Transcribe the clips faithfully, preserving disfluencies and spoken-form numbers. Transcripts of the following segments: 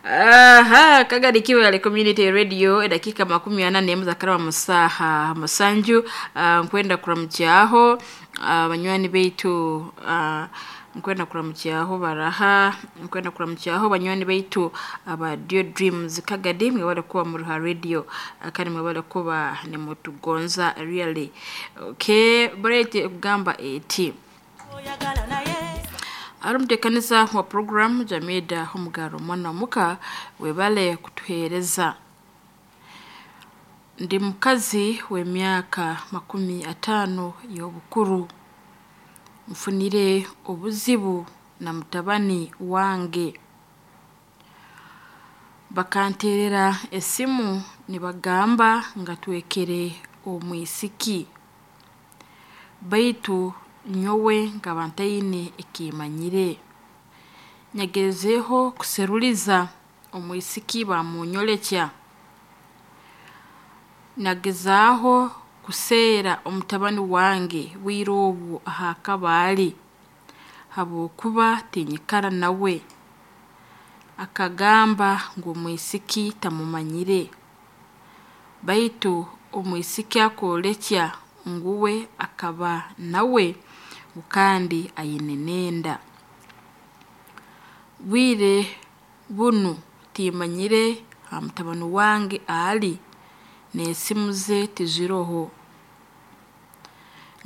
Aha, Kagadi Kiwale Community Radio edakika makumi ana n'emu zakaraba musaha musanju. uh, nkwenda kuramukyaho uh, banywani baitu, uh, nkwenda kuramukyaho baraha, nkwenda kuramukyaho banywani baitu aba Dio Dreams Kagadi, mwebale kuba muruha radio, uh, kandi mwebale kuba nimutugonza really. Okay, barete kugamba eti ari omuteekaniza wa program Jamida Omugaro mwana muka, webale kutuheereza. Ndi mukazi w'emyaka makumi ataano y'obukuru, nfunire obuzibu na mutabani wange. Bakanteerera esimu nibagamba nga twekere omwisiki, baitu nyowe nkaba ntaine ekimanyire. Nyagezeho kuseruliza omwisiki bamunyorekya, nagezaaho kuseera omutabani wange bwire obu ahakaba ari, habwokuba tinyikara nawe. Akagamba ngu omwisiki tamumanyire, baitu omwisiki akorekya ngu we akaba nawe ngu kandi aine n'enda. Bwire bunu timanyire aha mutabani wange ari, n'esimu ze tiziroho.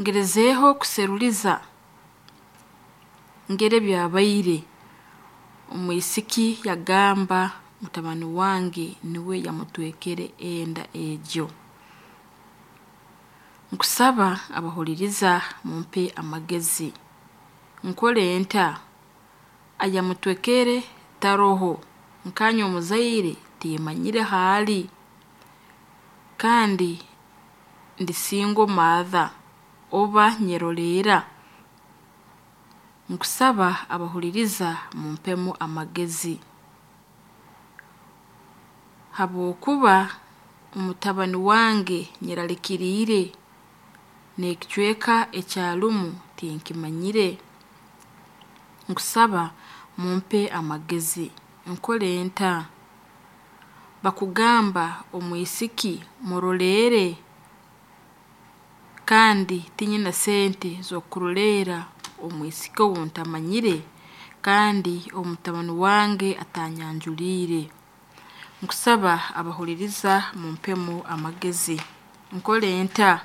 Ngerezeho kuseruliza ngere ebyabaire, omwisiki yagamba mutabani wange niwe yamutwekere enda egyo. Nkusaba abahuliriza mumpe amagezi. Nkore nta? Ayamutwekere taroho, nkanye omuzaire timanyire haali, kandi ndi single mother oba nyeroleera. Nkusaba abahuliriza mumpemu amagezi, habwokuba omutabani wange nyeralikiriire n'ekicweka ekyarumu tinkimanyire. Nkusaba mumpe amagezi. Nkore nta? Bakugamba omwisiki muroleere, kandi tinyine sente z'okuroleera omwisiki ou ntamanyire, kandi omutabani wange atanyanjuliire. Nkusaba abahuliriza mumpemu amagezi. Nkore nta?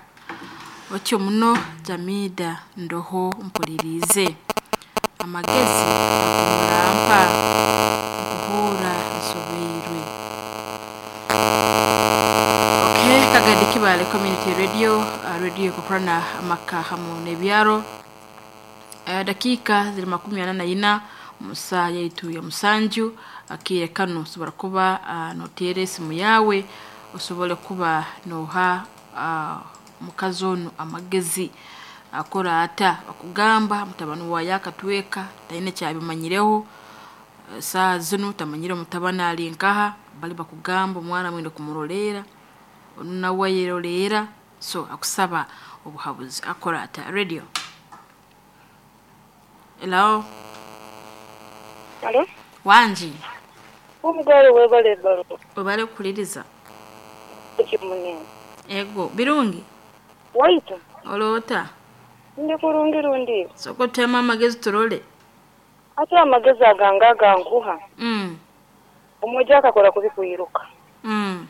Otyo muno Jamida, ndoho mpuliriize. Amagezi agu murampa nkuhuura nsobeirwe. Okay, Kagadi Kibale Community Radio, uh, radio ekukurana amaka hamu n'ebyaro. Uh, dakiika ziri makumi ana na ina musa yaitu ya musanju. Akiire kanu osobora kuba uh, noteera esimu yaawe osobole kuba noha uh, mukazi onu amagezi. Akora ata? Bakugamba mutabani waye akatweka taine kyabimanyireho, saaha zinu tamanyire omutabani ari nkaha. Bali bakugamba omwana mwine kumuroleera, onu nawe ayeroleera, so akusaba obuhabuzi. Akora ata? Radio, hello. Alo? Wangi. Omugalo webale balo. Webale kukuliriza. Ekimunene. Ego birungi. Waitu. Oloota? Ndi kurungi rundi. Sooka otutemu amagezi turole. Ate amagezi agange agankuha. Mm. Omwojo akakora kubi kwiruka. Mm.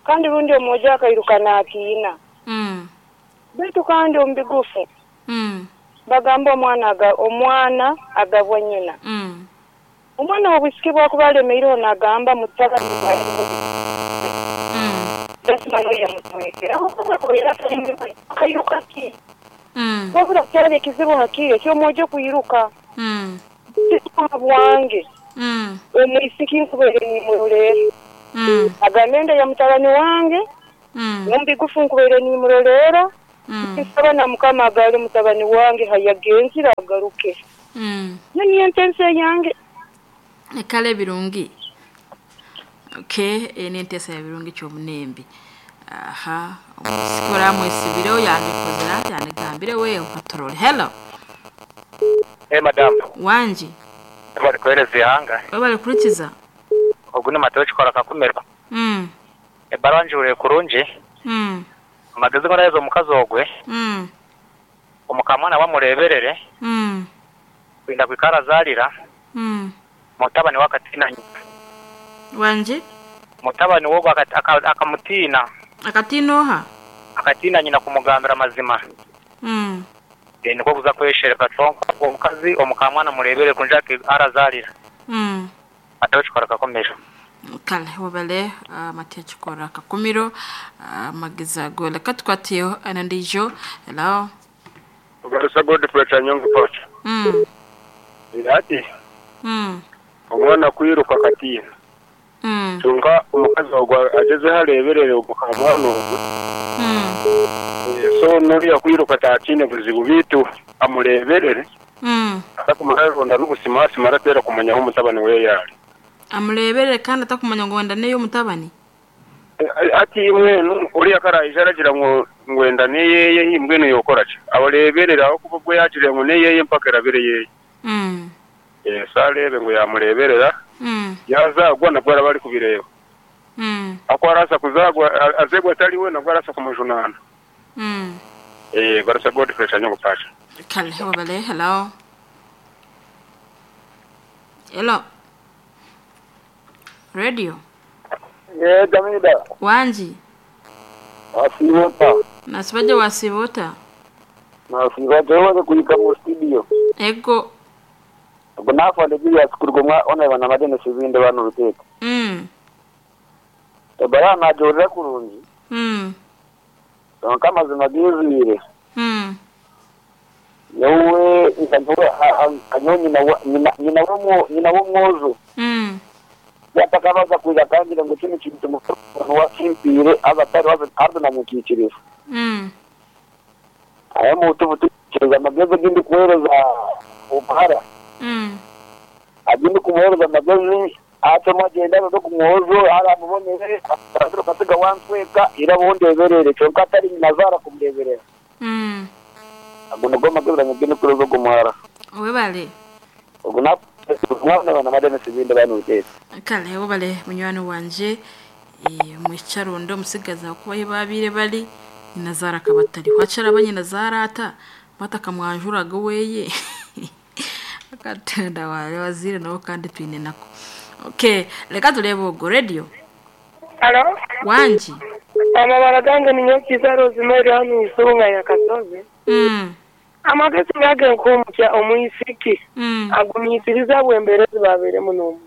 Kandi rundi omwojo akairuka naatiina. Mm. Baitu kandi omu bigufu. Mm. Bagamba omwana aga omwana agabwa nyina. Mm. Omwana obwisiki bwakuba alemeireho nagamba mutabani Mm. akairuka ki? Mm. Wabula kyali ekizibu hakiire eky'omwojo kwiruka. Mm. Bwange. Mm. Omwisiki nkubeire nimuroleera. Mm. Agambe enda ya mutabani wange. Mm. Omu nkubeire nimuroleera. Mm. Nsaba na Mukama agale mutabani wange hayagenzire agaruke. Mm. Yo niyo ntensi yange. Ekale birungi. Okay, eni enteesa ya birungi ky'omunembi. Aha, omusiki oramwesibireho yandikozere ati yandigambire wewe katurole. Hello. Hey, madam. Wangi. Bari kuhereza ihanga. Webale kurikiza. Ogu ni Mateo kikora kakumirwa. Mm. Ebaruwa njure kurungi. Mm. Amagezi goraheza omukazi ogwe. Mm. Omukamwana bamureberere. Mm. Kwinda kwikara azarira. Mm. Mutabani wakatina nyina. Wanje? Mutabani wogo akamutina. Akatina oha? Akatina nyina kumugambira amazima. Mm. E, niko kuza kweshereka conka omukazi omukamwana murebere kunja arazarira. Mm. Mateo kikora kakumiro. Kale wabale uh, Mateo kikora kakumiro uh, magiza gole katukwatiyo anandijo. Hello. Ugarusa Godfrey Chanyongo Pacha. Mm. Ati Mm. omwana kwiruka katina. Mm. Tunga omukazi ogwa ageze hareberere omukamwana ogwe. Mm. So nuriya kwiruka tatine buzibu bitu amureberere. Mm. Atakumararonda n'obusimasi maratera kumanya aho omutabani we yari. Amureberere kandi atakumanya ngo wenda neyo mutabani. Ati imwenu uriya karayije aragira ngo ngwenda neyeye imbwenu yokora ki abareberera aho kuba bwe yagire ngo neyeye mpaka erabere yeye. Mm. Eh sarebe ngo yamureberera. Mm. Yazagwa nabwo arabari kubireba. Mm. Ako arasa kuzagwa azegwa atari we nabwo arasa kumujunana. Mm. Eh barasa Godfrey Chanyongo Pacha. Kale wabale. Hello. Hello. Radio. Ye Jamida. Wanji. Asibota. Nasibaje wasibota. Nasibota wewe kuika mu studio. Ego. Bunafa ndegiya sikurgomwa ona bana madene sizinde bano ruteka. Mm. Ebara najorera kurungi. Mm. Kama zimagizire. Mm. Yowe nkantowe anyonyi na nyina nyina wo nyina wo mwozo. Mm. Yatakabaza kuja kangira ngo kino kintu mu wakimpire abatari wazo na mukikiriza. Mm. Aya mutu butukiza amagezi gindi kuhereza umuhara. Mm. Agindi kumuhereza amagezi ate mwagenda no kumwozo aramubonere atro kasiga wansweka irabondeberere cyonka atari nazara kumureberera. Mm. Agono goma gobra ngene kurozo gumuhara. Webale. Oguna mwana na madene sizinde bano utete. Kale webale munywani wanje e, mwicharondo musigaza kuba babire bali nazara kabatari wacara abanye nazara ata batakamwanjuraga weye akatenda wale wazire nabo kandi twine nako. Okay, reka turebe ubwo radio. Hello. Wanji. Amabara gange ni Nyokiza Rosemary hano isunga ya Kasozi. Mm. Amagezi gage nkumukya omuyisiki. Mm. Agumisiriza bwemberezi babere muno.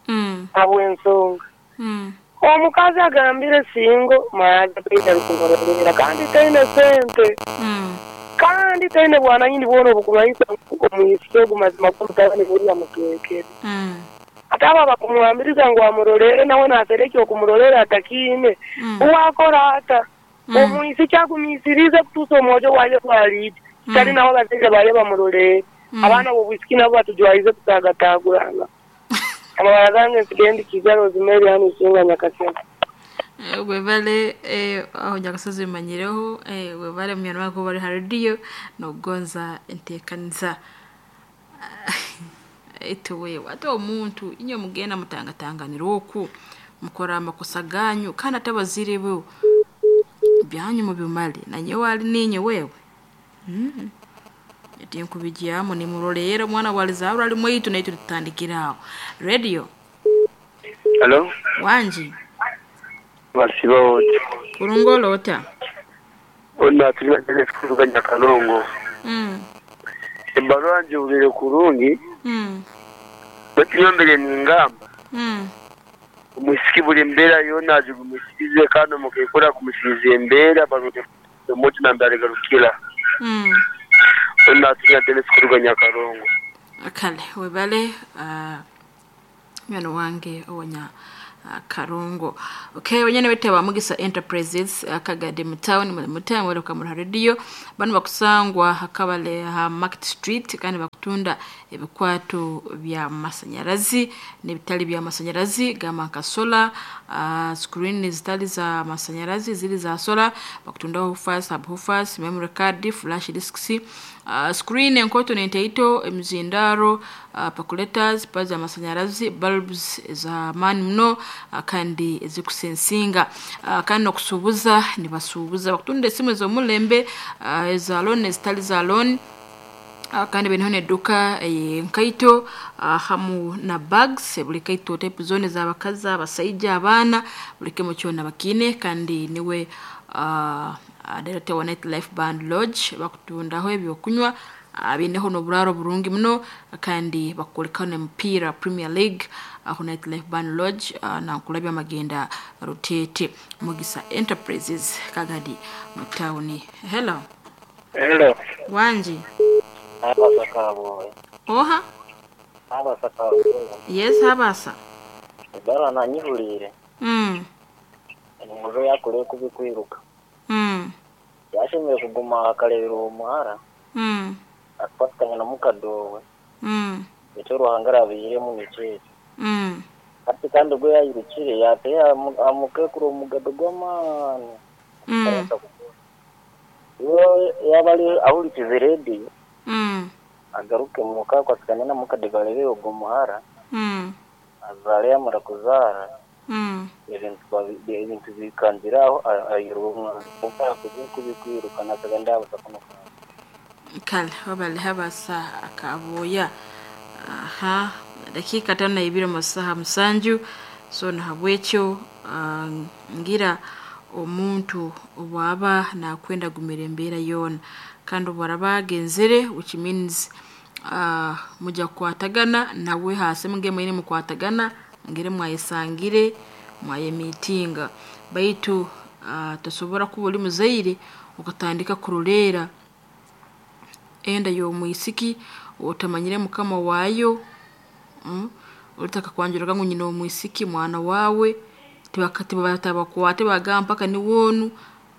Mm. Abwensonga. Mm. Omukazi agambire singo mayaga peita rukumurorera kandi taine sente. Mm. Kandi taine bwana nyindi bwono obukumanyisa omuyisiki ogumazima kumutabani buriya mutwekere. Mm. Ataba bakumwambiriza ngo amurorere nawe nasereke okumurorera atakine. Mm. Uwakora ata. Mm. Omuyisiki agumisirize kutusa omwojo waje kwalidi. Mm. Tari naho bazeje baye bamurorere. Mm. Abana bobwisiki nabo batujwaize kutagataguranga. Amabara gange nsigendi Kiza Rosemary hano isinga Nyakasema. Webale eh, aho Nyakasozi bimanyireho eh, webale munyana wako bari ha radio nogonza entekaniza ituwe wate omuntu inyo mugenda mutangatanganira oku mukora amakosa ganyu kandi atabazire bo byanyu mubimale nanye wali ninye wewe. Mm. Eti nkubijyamu ni murorera omwana walizabura ali mwitu naitu tutandikiraho. Radio. Hello. Wanji. Basiba wote. Kurungolo ota. Ona tulina tele kuruga Nyakalongo. Mm. Ebaruwa njubire kurungi. Mm. Batiyombere ningamba. Mm. Omusiki buli mbeera yona agigumisirize kandi omukekora kumusiriza embeera barute omuti nambere garukira. Mm. Ona tulina tele kuruga Nyakalongo. Kale webale uh, mwana wange owonya uh, Karungo. Okay, wenyene wete wa Mugisa Enterprises akagade mu town mu mutamu weruka mu radio bano bakusangwa hakabale ha Market Street kandi bakutu Bakutunda ebikwato bya masanyarazi n'ebitali bya masanyarazi gamba nka sola, uh, screen zitali za masanyarazi ziri za sola. Bakutundaho woofers, subwoofers, memory card, flash disks, uh, screen enkoto n'enteito, emizindaro, uh, percolators, pads za masanyarazi, bulbs za maani muno, uh, kandi ezikusensinga, uh, kandi n'okusuubuza nibasuubuza. Bakutunda esimu ez'omulembe, uh, eza loan ezitali za loan. Uh, kandi beniho neduka enkaito, uh, hamu na bags, buli kaito type zone z'abakazi, abasaija, abaana, buli kimu kyona bakiine. Kandi niwe uh, uh, director wa Night Life Band Lodge. Bakutundaho ebyokunywa, uh, bineho n'oburaaro burungi muno, kandi bakukolekaho n'emipiira Premier League aho Night Life Band Lodge, uh, nankulabya amagenda Rutete Mugisa Enterprises Kagadi mu tawuni. Hello. Hello. Wanji. Habasa kaboye. Oha. Habasa kaboye. Yes, habasa. Ebara nanyihulire. Mm. Omujo yakore kubikwiruka. Mm. Yashemere kuguma akarebera uwo muhara. Mm. Afatikanya na mukadowe. Mm. Icyo Ruhanga arabihiremo ni Mm. Ati kandi ubwo yayirukire yateye amukekuru omugado gw'amaani. Mm. Iyo yaba ari ahurikize rediyo Mm. agaruke muka kwasikane na mukade barebe ubwo muhara Mm. azare yamara kuzara Mm. ibintu babi- ibintu bikanziraho ayira umwana kuko kubikwirukana akaga ndabasa kuno. Kale wabale habasa akaboya. Aha, dakika tano na ibiri mu saha musanju. So nahabwekyo, uh, ngira omuntu obwaba nakwenda gumira embeera yoona, kandi obwaraba agenzere, which means uh, mujja kukwatagana nawe hasi muge mwine mukwatagana ngire mwayesangire mwayemitinga, baitu uh, tosobora kuba oli muzaire okatandika kuroleera enda y'omwisiki otamanyire mukama waayo, mm? Olitaka kwanjuraga ngu nyina omwisiki mwana wawe tibatabakwate bagamba mpaka niwoonu,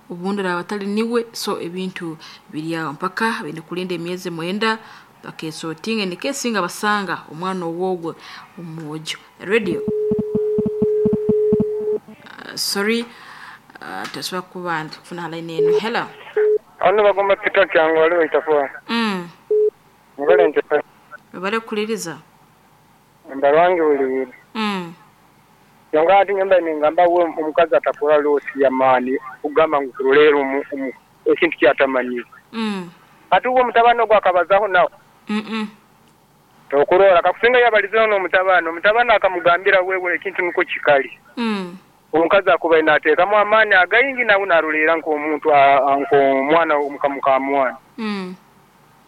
obundi araba atali niwe. So ebintu biri aho mpaka baine kulinda emyezi mwenda bakesotinga nikesinga basanga omwana owogwe omwojo. Radio, uh, sorry, uh, tosobola kuba kufuna line eno. Hello. Ano bagoma Peter Kyango waliwo itafuwa. Mm. Ngole nte Babale kuliriza. mbalwange buli. Mm. Yonga ati nyumba ningamba we omukazi atakora losi ya maani kugamba ngu kurolera omu omu ekintu kyatamanyi. Mm. Ati uwo mutabano gwa akabazaho nawe. Mm -mm. Tokurora kakusinga yabalizeho n'omutabano, omutabano akamugambira wewe ekintu nuko kikali. Mm. Omukazi akuba inateekamu amaani againgi nawe narulera nk'omuntu nk'omwana omukamukamwana. Mm.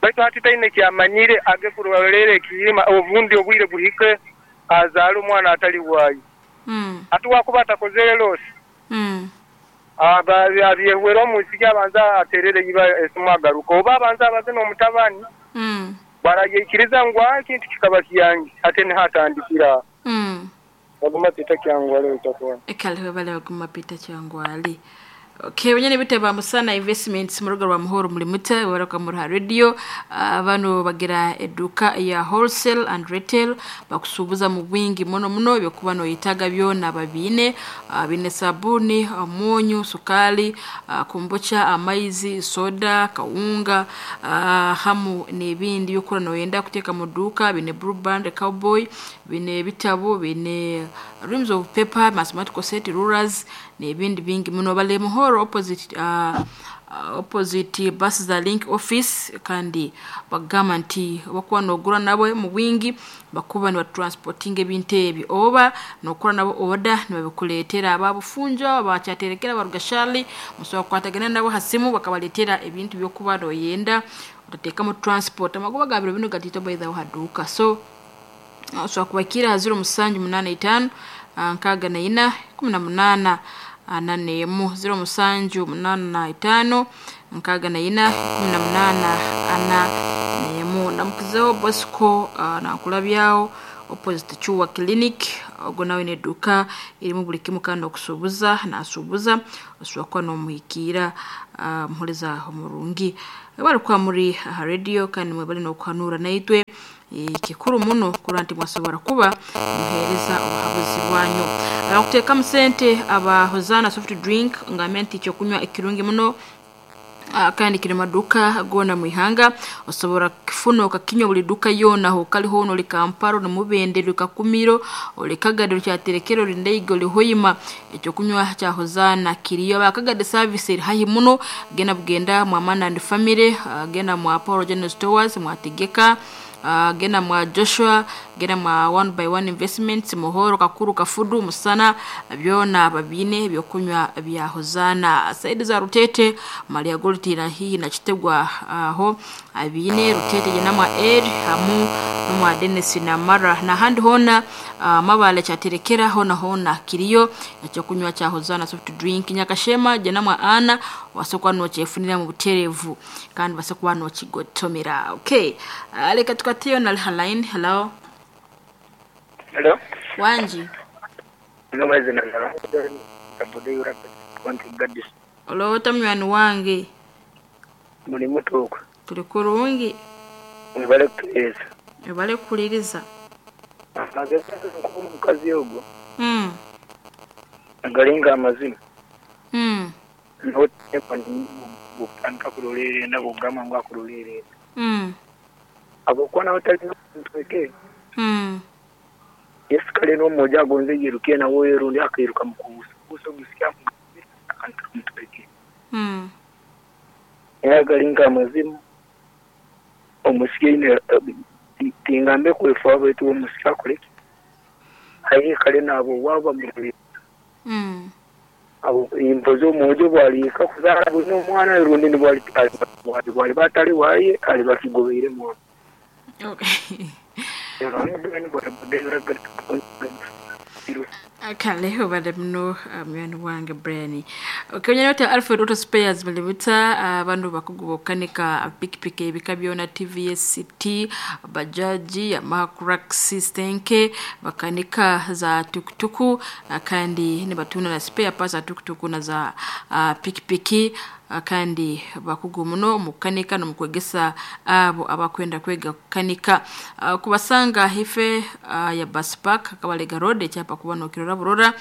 Baitu hati taine kyamanyire age kurolera ekiyima obundi obwire buhike azaala omwana atali waayo. Mm. Ati wakuba atakozere losi. Mm. Aba abyehwera omusiki abanza aterere iba esimu agaruka oba abanza abaze n'omutabani. Mm. Barayikiriza ngu ekintu kikaba kyange ate nihatandikira. Mm. Baguma Peter Kyangwale itakuwa. Ekale webale baguma Peter Kyangwale. Okay, wenyene bitaba Musana Investments mu rugo rwa Muhoro muri muta baraka muri radio, uh, bano bagira eduka ya wholesale and retail, bakusubuza mu bwingi muno muno ebyokuba noyitaga byona babine, uh, bine sabuni, omunyu, sukali, uh, kombucha, amaizi, soda, kawunga, uh, hamu n'ebindi byokura noyenda kuteeka mu duka, bine Blue Band, Cowboy, bine bitabo, bine reams of paper, mathematical set, rulers n'ebindi bingi muno. Bale Muhoro opposite, uh, uh, opposite bus za Link office, kandi bagamba nti bakuba nogura nabo mu bwingi bakuba nibatransportinga ebintu ebyo oba nokora nabo order nibabikuleetera ababufunja abakyaterekera barugashali musobola kukwatagana nabo hasimu bakabaletera ebintu byokuba noyenda otateekamu transport. Amagoba ga biro bino gatito by the way haduka, so osobola kubakira ziro musanju munana itaano nkaaga na ina kumi na munaana ana n'emu, ziro musanju munana itaano nkaaga na ina kumi na munaana ana n'emu. Ndamukizeho Bosco, uh, nakulabyaho opposite Chuwa Clinic, Ogo nawe neduka irimu buli kimu kandi okusuubuza nasuubuza osobola kuba n'omuhikiira uh, muhuriza omurungi bali kuba muri aha radio kandi mwe bali n'okuhanura naitwe. Kikuru muno kurora nti mwasobora kuba muheereza obuhabuzi bwanyu. Abakuteekamu sente aba Hozana soft drink ngambe nti ekyokunywa ekirungi muno kandi kiri maduka gona mwihanga osobora kifuna okakinywa buli duka yona ho kali hono oli Kampala oli Mubende oli Kakumiro oli Kagadi oli Kyaterekero oli Ndeiga oli Hoima. Ekyokunywa kya Hozana kiriyo. Abakagadi service eri haihi muno, genda bugenda mwa Man and Family, genda mwa Paul General Stores mwategeka, Uh, genda mwa Joshua, genda mwa One by One Investments, Muhoro, Kakuru, Kafudu, Musana, byona babine ebyokunywa bya Hozana. Saidi za Rutete, Maria Gold na hii na Kitegwa aho uh, abine Rutete jena mwa Ed hamu mwa Dennis na Mara na handi hona uh, mabale chaterekera hona hona kiriyo ekyokunywa cha Hozana soft drink. Nyakashema jena mwa Ana wasokwa no chefunira mu buterevu kandi basokwa no kigotomera. Okay, uh, leka tukatiyo na line. Hello. Hello. Wanji. Olota mywani wange. Muri mutuko. Tuli kurungi. Mwebale kutuhereza. Mwebale kukuliriza. Amagezi omukazi ogwo. Mm. Agalinga amazima. Mm. Bukutandika kurolerera bugamba ngu akurolerera. Mm. Agokuba nawe talina ntweke. Mm. Yesu kale n'omwojo agonze yiruke nawe rundi akairuka mukubusa. Busa gusya akantu. Mm. Yagalinga amazima. Omusike tingambe kwefa baitu omusike akoleki. Aye kale nabo waba muri. Mm. Abo impozo omwojo bwalika kuzaala buli omwana rundi nibwali bwali bwali batali waye ali bakigobeire mwana. Okay. Akaleho bade mno mwana wange Brian. Okay, nyana Alfred Auto Spares balibuta abantu bakugubokanika pikipiki ebika byona T V S C T bajaji Yamaha Crux Stenke bakanika za tukutuku kandi ni batuna na spare parts za tukutuku na za uh, pikipiki kandi bakugu muno mukanika no mukwegesa abo abakwenda kwega kukanika. Uh, kubasanga hife uh, ya bus park Kabalega Road ekyapa kuba nokirora burora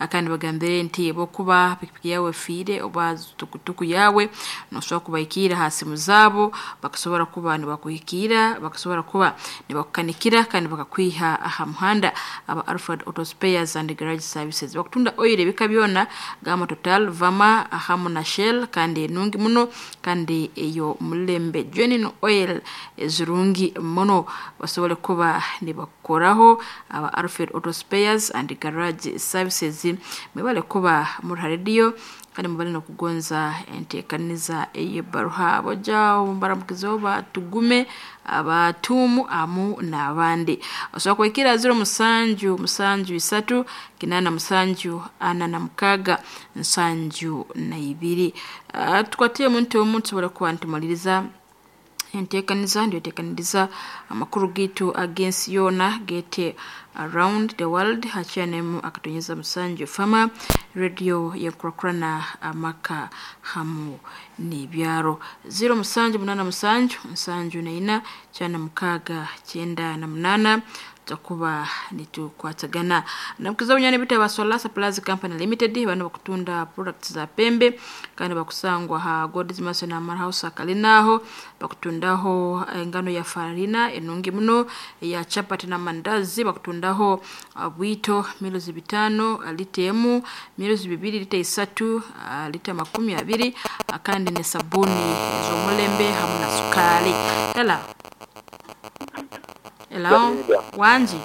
kandi bagambire nti bokuba pikipiki yawe fire oba tukutuku yawe nosobola kubaikira hasi muzabo bakasobora kuba nibakuhikira bakasobora kuba nibakukanikira kandi bakakwiha aha muhanda. Aba Alfred Auto Spares and Garage Services bakutunda oil ebika byona gama Total Vama ahamu na Shell kandi nungi muno kandi eyo mulembe genuine oil ezirungi muno basobole kuba nibakoraho. Aba Alfred Auto Spares and Garage Services mwebale kuba muri radio kandi mubale no kugonza enteekaniza ey'ebbaruha boja mbaramukizo batugume abatumu amu n'abandi. Osobola kwekira zero musanju musanju isatu kinana musanju ana na mukaga nsanju na ibiri. Uh, tukwatiye muntu omuntu tusobola kuba ntumaliriza enteekaniza ndiyo teekaniriza amakuru gitu against yona gete around the world hachanemu akatonyeza musanju fama radio yenkurakurana amaka hamu n'ibyaro zero musanju munana musanju nsanju na ina cyana mukaga cyenda na munana takuba nitukwatagana namukiza bunyane bita ba Solar Supplies Company Limited bano bakutunda products za pembe kandi bakusangwa ha God's Mercy na Mar House akalinaho bakutundaho engano ya farina enungi muno ya chapati na mandazi bakutundaho bwito milozi bitano lita emu milozi bibiri lita isatu lita makumi abiri kandi ne sabuni z'omulembe hamu na sukali. Hela. Hello. Wanji.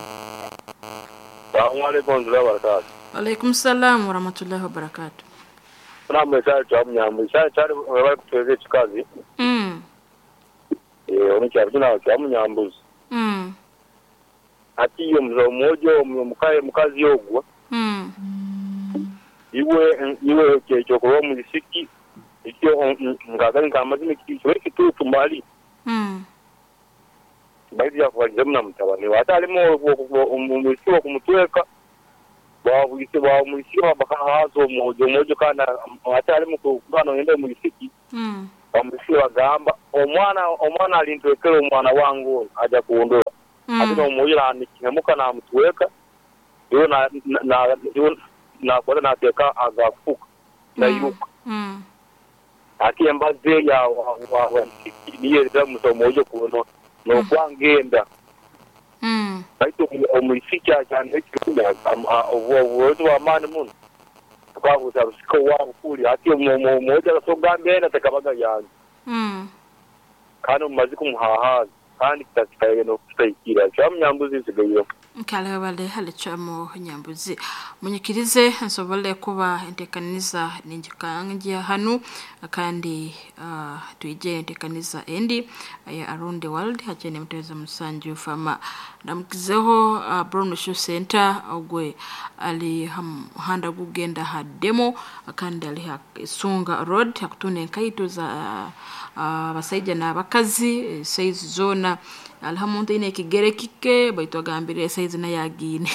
Assalamu alaikum warahmatullahi wabarakatuh. Alaikum salam warahmatullahi wabarakatuh. Namwe cha munyambo cha cha bari kutweze chikazi. Mm. Eh omukyalo kino kya munyambuzi. Mm. Ati iyo mzo mwojo mukaye mukazi ogwa. Mm. Iwe iwe kyecho kuba mu lisiki ikyo ngagani kamazime kyo kitutu mali. Mm. Baidi ya kuwaliza mna mtabani watalimo umusiwa kumutweka Babwise ba omwisiki bakahaza omwojo omwojo kandi atali mukugano yende omwisiki. Mm. Omwisiki bagamba omwana omwana alintwekera omwana wangu aja kuondoa. Mm. Ati omwojo anikihemuka na mutweka. Yo na na yo na kwa na teka agafuka. Na yuka. Mm. Ati embaze ya wa wa niye za omwojo kuno no kwangenda. Mm. Baitu omwisiki ajana ekikunda obuwezo bw'amaani muno tukabuuza rusiko wabo kuli ati omwojo arasogambe na tekabaga yange. Mm. Kandi omumazi kumuhahaza kandi kitakikaye n'okutaikira kyamunyambuzi nsigayo. Nkale bale halichamo nyambuzi munyikirize nsobole kuba entekaniza ninjikanja hanu kandi uh, tuije entekaniza endi ya around the world hachene mteza musanju fama ndamukizeho uh, Brown Shoe Center ogwe ali handa kugenda ha demo kandi ali ha Sunga Road hakutune nkaitu za abasaija uh, n'abakazi size zona alhamuntu ine kigere kike baitu agambire size na yagine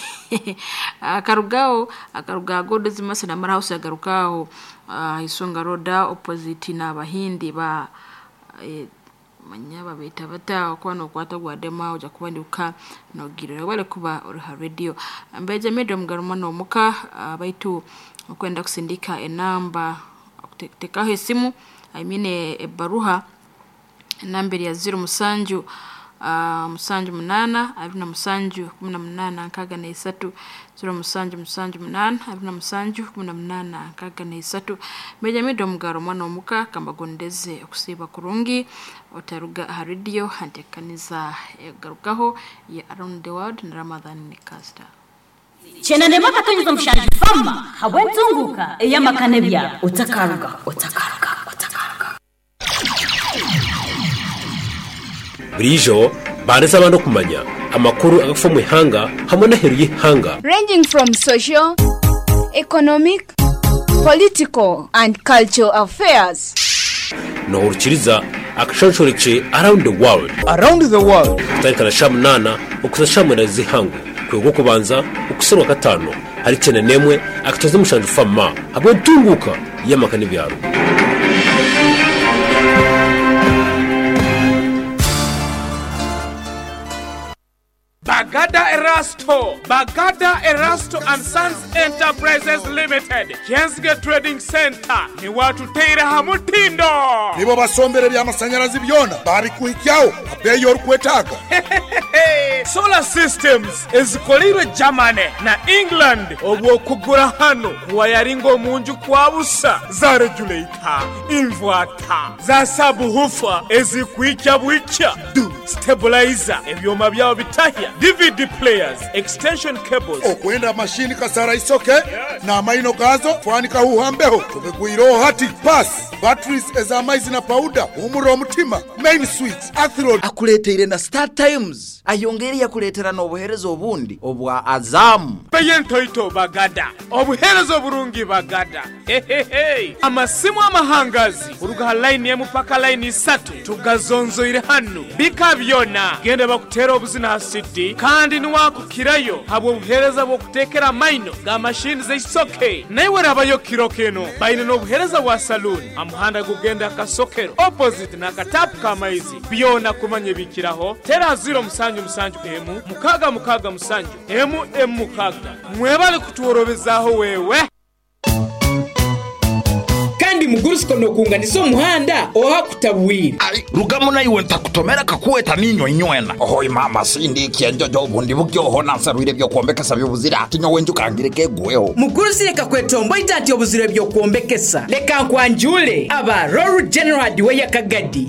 akarugao akaruga godo zimase na mara house agarukao uh, Isunga Road opposite na bahindi ba eh, manyaba beta bata kwa no kwata gwa dema uja kubanduka no girero bale kuba uri radio mbeje medium garuma no muka uh, baitu okwenda kusindika enamba tekaho esimu I mean e baruha namberi ya zero musanju Uh, musanju munana abiri na musanju kumi na munana nkaga na isatu zero musanju musanju munana abiri na musanju kumi na munana nkaga na isatu meja mido mugaro mwana omuka kambagondeze okusiba kurungi otaruga aha radio hantekaniza egarukaho ya around the world na Ramadhan Nikasta Chenande makatonyiza mushanju fama habwentunguka eyamakane bya otakaruga otakaruga otakaruga Burijo bandetse abantu kumanya amakuru agafa mu ihanga hamwe n'aheru y'ihanga ranging from social, economic, political and cultural affairs. Nohurukiriza akashonshoreke around the world around the world kutarikana sha munana okuza sha munana z'ihangu kwego kubanza ukuserwa gatano hari cyane nemwe akatoza mushanju fama hamwe ntunguka y'amaka n'ibyaro. Bagada Erasto, Bagada Erasto and Sons Enterprises Limited, Jensge Trading Center, ni watu teira hamutindo. Nibo basombere by'amasanyarazi byona babikuhikyao abeyo orukwetaaga. Solar systems ezikolirwe Germany na England obwokugura hano kuwayaringa omunju kwa busa za regulator, inverter, za subwoofer ezikuhikya bwikya, stabilizer, ebyoma byabo bitahya, D V D players, extension cables. Okwenda mashini kasara isoke, yes. Na maino gazo twanika huhambeho tubigwiro hati pass batteries ezamaizi na powder umuro omutima main switch athro akuleteire na Star Times ayongeri yakuletera n'obuherezo obundi obwa Azamu Beyentoito Bagada obuherezo burungi Bagada hehehe amasimu amahangazi uruga line ya mupaka line isatu tugazonzoire hano bika byona gende bakutera obuzina hasidi kandi niwakukirayo habwo buhereza bwo kutekera maino ga machine zeisoke naiwe rabayo kirokeno baine n'obuhereza bwa saloon amuhanda gugenda kasokero opposite na katapu kamaizi byona kumanye bikiraho tera zero musanju musanju emu mukaga mukaga musanju emu emu mukaga mwebale kutuworobezaho wewe kandi mugurusiko nokunganiza omuhanda oha kutabwira rugamo naiwe ntakutomera kakuweta ninyo inywena oho mama sindi kienjojo obundi bukyoho nansarwire byokuombekesa byobuzira ati nyowe njukangire kegweho mugurusi reka kwetombo ita obuzire byokuombekesa leka nkwanjule aba Royal General Hardware Kagadi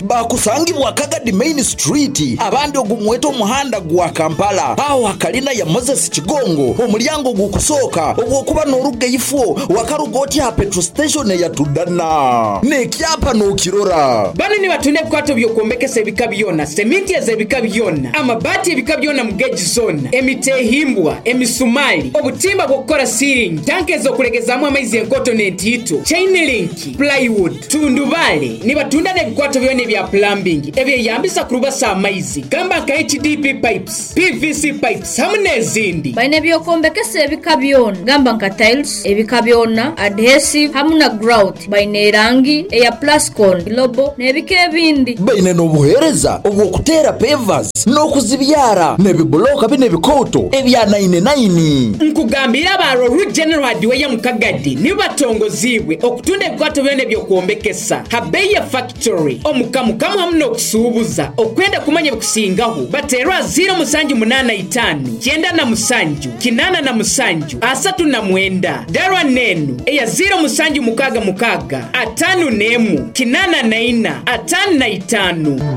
bakusangibwa Kagadi Main Street abandi ogumweta omuhanda gwa Kampala aho hakalina ya Moses Kigongo omulyango gukusooka obwokuba n'oruga ifo wakarugoti ha Petro station eyatudana n'ekyapa n'okirora. Bano nibatunda ebikwato by'okwombekesa ebika byona, seminti ez'ebika byona, amabaati ebika byona mu geji zona, emiti ehimbwa, emisumali, obutimba bw'okukora ceiling, tanka ez'okulegezamu amaizi enkoto n'entiito, chain link, plywood, tundubale. Nibatunda n'ebikwato byona ebya plumbing ebyeyambisa kurubasa amaizi, gamba nka H D P pipes, P V C pipes hamwe n'ezindi. Baine ebyokombekesa ebika byona, gamba nka tiles, ebika byona, adhesive hamwe na grout. Baine erangi eya plascon, lobo n'ebika ebindi. Baine n'obuheereza obw'okuteera pavers n'okuzibyara n'ebibuloka bine ebikoto ebya nine nine. Nkugambira aba Roru General Hardware mu Kagadi nibatongozibwe okutunda ebikwato byona eby'okwombekesa Habeya Factory omukamukamu hamwe n'okusuubuza. Okwenda kumanya ebikusingaho bateerwa ziro musanju munana itaano kyenda na musanju kinana na musanju asatu na mwenda darwa nenu eya ziro musanju mukaga mukaga atanu nemu kinana na ina atanu na itaano.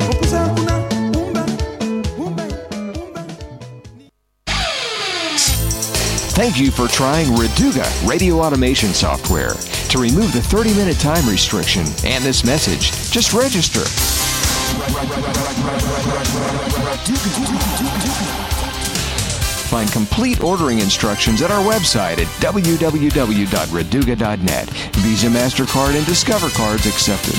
Thank you for trying Reduga radio automation software. To remove the thirty-minute time restriction and this message, just register. Find complete ordering instructions at our website at w w w dot reduga dot net. Visa, MasterCard, and Discover cards accepted.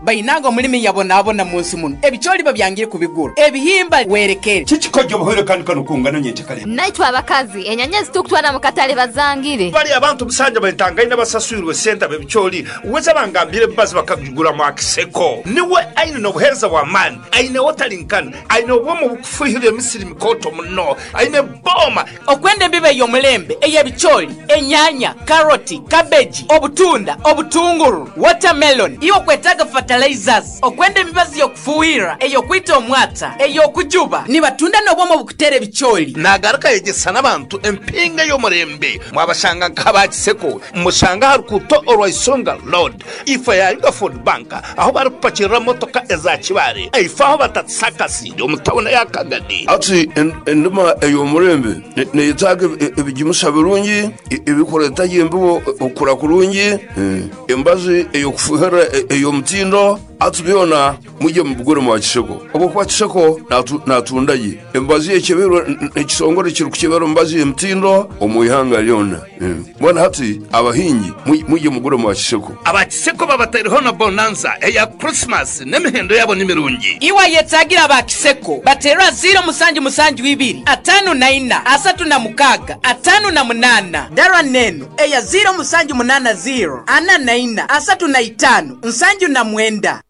Bainango mulimi yabonabona munsi muno ebicholi babyangire kubigura ebihimba werekere kikikojo buhoro kandi kanukungana nyenchakale naitwa abakazi enyanya zitukutwana mukatale bazangire bali abantu busanja batangaina basasuirwe senta bebicholi uweza bangambire bazi bakagura mu akiseko niwe aine no buhereza wa man aine watalinkana aine obwomo bukufuhira emisiri mikoto muno aine boma okwende mbibe yomulembe eyebicholi enyanya karoti cabbage obutunda obutunguru watermelon iwo kwetaga fertilizers okwenda emibazi yokufuhira eyokwita omwata eyokujuba nibatunda n'obwomo bukutera ebicholi nagaruka yegesa n'abantu empinga y'omurembe mwabashanga nk'abakiseko mushanga harukuto orwaisonga road ifa ya Yuga Food Bank aho barupakirira motoka eza kibare ifa aho batatsakasire omutawuna ya Kagadi ati endima ey'omurembe neyetaaga ebigimusa birungi ebikoreta yembibo okura kurungi embazi eyokufuhira ey'omutindo atubyona mujye mubugure mu Kiseko obwo kwa Kiseko natundaye embazi ekebero ekisongore kiri kukebero mbazi emtindo omuihanga lyona mbona hati abahingi mujye mugure mu Kiseko Abakiseko babatariho na bonanza eya Christmas n'emihendo yabo nimirungi iwa yetagira abakiseko batera zero musanju musanju ibiri atano na ina asatu na mukaga atano na munana darwa neno eya zero musanju munana zero ana na ina asatu na itano nsanju na mwenda.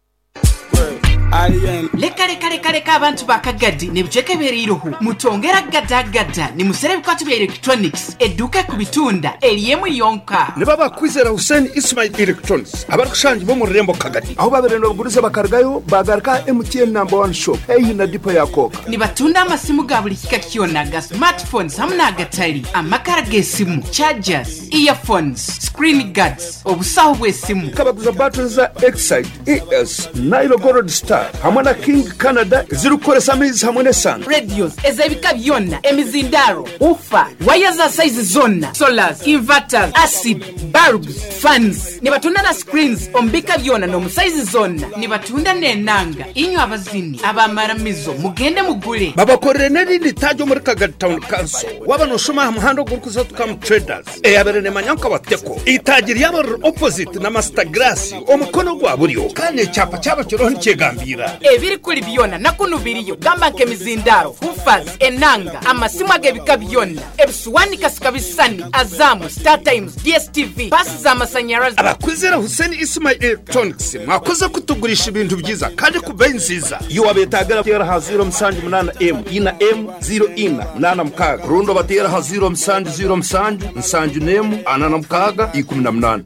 Leka leka leka leka abantu bakagadi nebicheke beriruhu mutongera gada gada ni musere bikwatu bya electronics eduka kubitunda eliemu yonka ne baba kwizera Hussein Ismail Electronics abarukushanje bo mu rurembo Kagadi aho baberendo baguriza bakargayo bagarka M T N number one shop eyi na dipo ya koka ni batunda amasimu ga buli kika kyona ga smartphones hamwe n'agatali amakara g'esimu chargers earphones screen guards obusaho bw'esimu kabaguza batteries za Excite E S Nile Gold Star hamwe na King Canada zirukoresa amezi hamwe n'esano radios ezebika byonna emizindaro ufa waya za size zonna solars inverters acid bulbs fans nibatunda na screens ombika byonna no size zonna nibatunda n'enanga inyo abazini abamaramizo mugende mugule babakorere n'erindi tajo muri Kagadi Town Council wabanoshoma muhando gurukuza tukam traders eyabere ne manyanka bateko itagiri yabo opposite na Master Grass omukono gwa buryo kandi icyapa cyabo kiroho nikigambira ebiri kuli byona nakunubiriyo gamba nke mizindaro ufaz enanga amasimu agebika byona ebisuwani kasikabisani Azamu Star Times D S T V pasi za masanyarazi. Abakwizera Hussein Ismail Electronics mwakoze kutugurisha ibintu byiza kandi ku bei nziza iyo wabetagara tera ha zero musanju munana M ina M zero ina munana mukaga rundo batera ha zero musanju zero musanju nsanju nemu anana mukaga ikumi na munana.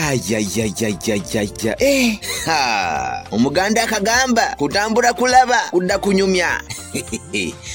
Ayayayayayaya. Eh, ha. Omuganda akagamba kutambura kulaba kudda kunyumya.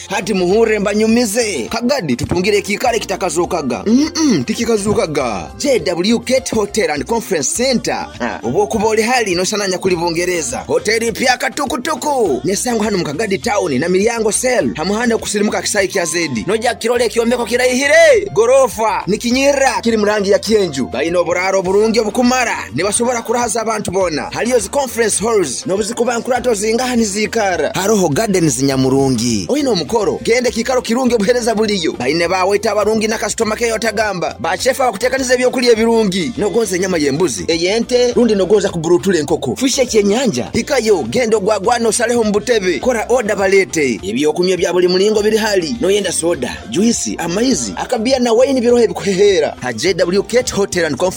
Hati muhure mbanyumize Kagadi tutungire ekikare kitakazukaga. Mm tikikazukaga. J W Gate Hotel and Conference Center. Ha, obwokuba oli hali nosananya kuli Bungereza. Hoteli mpya katukutuku nesangwa hano mukagadi town na Milyango Cell hamuhanda okusirimuka kisayi kya zedi noja kirole ekyombeko kiraihire gorofa nikinyira kiri murangi ya kyenju. Balina oburaro burungi obukumara nibasobora kurahaza abantu bona. Haliyo zi conference halls nobuzikuba nkurato zingaha nizikara. Haroho gardens nyamurungi. Oyina omukoro gende kikaro kirungi obuhereza buliyo. Baine baweta abarungi na customer care otagamba. Bachefa bakutekaniza ebyokulya ebirungi. Nogonza enyama y'embuzi eyente rundi nogonza kuburutula enkoko fishe ekyenyanja hikayo genda ogwagwana osaleho mubutebe kora oda balete ebyokunywa bya buli mulingo biri hali. Noyenda soda, juisi, amaizi, akabia na waini birohe bikuhehera ha J W Gate Hotel and Conference.